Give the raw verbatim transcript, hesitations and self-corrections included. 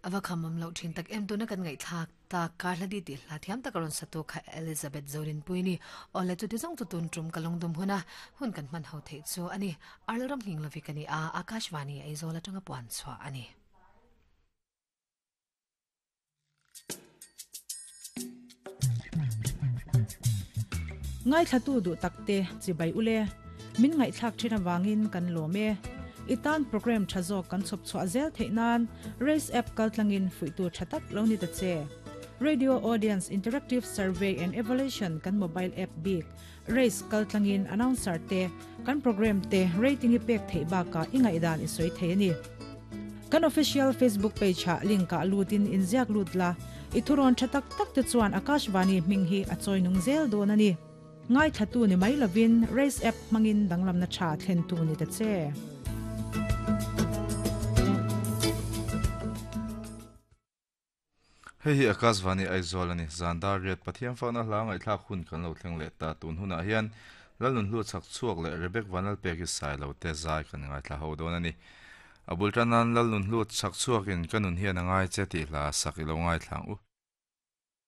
Awa khamam lo thin tak em tuna kan ngai thak ta karladi ti hla thiam tak ron satu kha Elizabeth Zorin puini ole chu ti jong chu tun trum kalong dum huna hun kan man ho thei chu ani arlram hing lovi kani a Akashvani Aizawl atanga puan chwa ani. Ngai thlatu du takte chibai ule min ngai thlak thina wangin kan lome itan program thazo kan chop chwa zel theinan race app kaltlangin fuitu thatak lo ni ta che radio audience interactive survey and evaluation kan mobile app big race kaltlangin announcer te kan program te rating i pek thei ba ka ingai dan i soi thei ni kan official Facebook page ha link ka lutin inziak lutla ithuron thatak tak te chuan Akashvani ming hi achoi nung zel don ani ngai thatu ni mai lovin race app mangin danglam na tha thlen tu ni ta che. Hei hi Akashvani Aizawl ani zandar riat pathian fakna hla ngai thlak hun kan lo thleng le ta tun huna hian lalun hlu chak chuak le Rebek Vanal pek hi sai lo te zai kan ngai thla ho don ani abul tanan lalun hlu chak chuakin kanun hian angai che ti hla sak ilo ngai thlang u.